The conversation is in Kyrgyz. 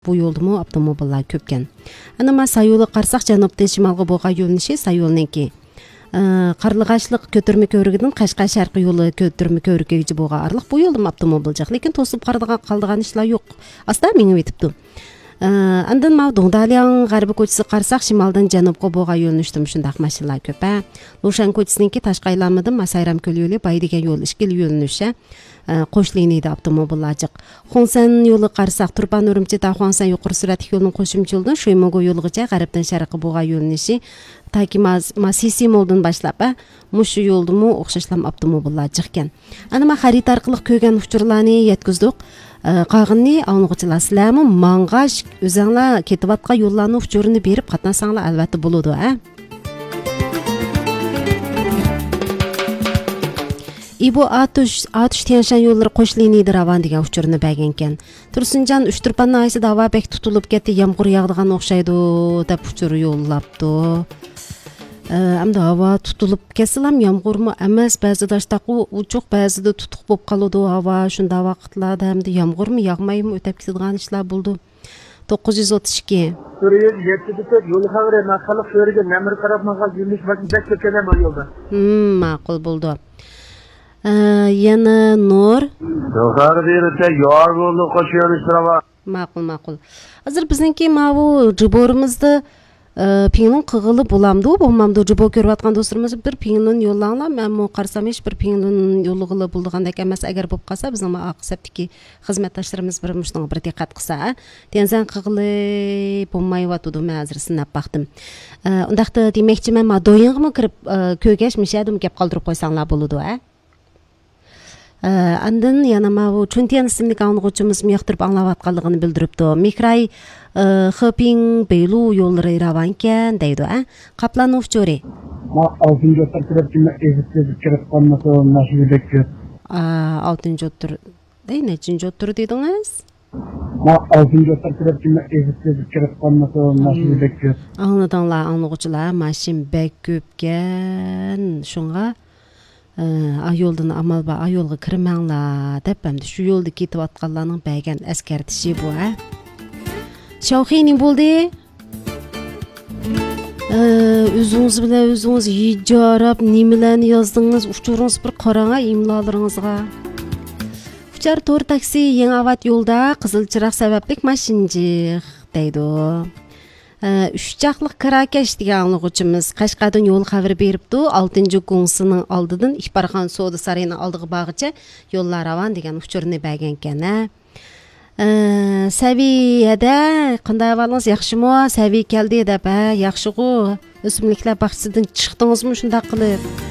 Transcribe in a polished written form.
бул жолдуму автомобилдар көп экен. Анан Сайуулу карасак жаноптон шымалга буга юлунушу Сайуулнинки. Карлыгачлык көтөрмө көбүрүгүнүн Кашкай шаркы жолу көтөрмө көбүрүккө буга арлык бул жолдум автомобил жак, лекин тосуп калдыган ишлар жок. Аста миңип өтүптү. Андан Доңдалияң гарбы көчүсү карасак шымалдан жанобко буга юлунуштум ушундак машиналар көп. Лушан көчүсүнүнки Ташкайламыдын Сайрам көлү эле Бай деген жол ишкил юлунуш. Кош линияда автомобилдар жок. Хонсан жолу карасак Турпан Үрүмчи Хуаңсан юкары сүрөт жолунун кошумча жолдон Шоймого жолугуча гарыптан шаркы буга юлунушу таки Сиси молдон башлап мушу жолдуму окшошлам автомобилдар жок экен. Анан харит аркылуу көгөн учурларны жеткиздик. Кагынны алгычылар силерми манга өзүңлөр кетип аткан жолларны учурун берип катнасаңлар албетте болоду. Ибо атыш Тяньшань жолдору кош линияда раван деген учурун берген экен. Турсунжан Үчтүрпандын айсыда аба бек тутулуп кетти, ямгыр ягдыган окшойду деп учур жоллапту. Амда аба тутулуп кетсилам ямгырмы эмес, баазыда таштаку учук, баазыда тутук болуп калууда аба. Ушундай вакытларда эмди ямгырмы ягмайбы өтөп кетидиган ишлар болду. 932 жол кабары накалык көргөн намыр тарапынан жүрүш бак кеткен бул жолда. Макул болду. Yana Nur. Yukarı birlikte yorgunluk koşuyoruz sırava. Макул. Азыр биздинки мабу жиборубузду пиңнин кыгылы буламды, болмамды жибо көрүп аткан досторубуз бир пиңнин жоллаңла, мен мо карасам эч бир пиңнин жолугулы булдугандак эмес. Эгер болуп калса биздин аксептики кызматташтарыбыз бир муштуңа бир диккат кылса, тензен кыгылы болмай атуду мен азыр сынап бактым. Ундакты демекчи мен доюңгуму кирип көгөш мишадым кеп калтырып койсаңлар болуду, Андан yana мабу Чунтиян исимдик аңгычыбыз мыяктырып аңлап атканлыгын билдириптү. Микрай Хөпиң Бейлу жолдору раван экен дейди, Каплан Увчори. Алтын жоттор кирip эзип кирип калмаса машина көп. Алтын жоттор. Нечин жоттор дедиңиз? Алтын жоттор кирип кирип калмаса машина көп. Аңладыңлар, аңлыгычылар, машин бек көп экен. Шунга ayoldan amalba ayolga kirmanglar deb hamda shu yo'lda ketib atganlarning bergan eskartishi bu. Shauxining bo'ldi. O'zingiz bilan o'zingiz ijarab nimalarni yozdingiz, uchuringiz bir qarang imlolaringizga. Uchar to'r taksi Yangiavat yo'lda qizil chiroq sababli mashinjiq deydi. Üççaqlıq Karakesh degan anlıqçımız Qashqardan yol xabar beripti. 6-Gungsының алдыдан Ишбархан Сода Sarayının aldığı bağıça yollar ravan degan uchurni bergan ekan. Saviyada qanday ahvolingіз yaxshimi? Saviy keldi deb, yaxshi-ku. O'simliklar bog'chasidan chiqdingizmi shunday qilib?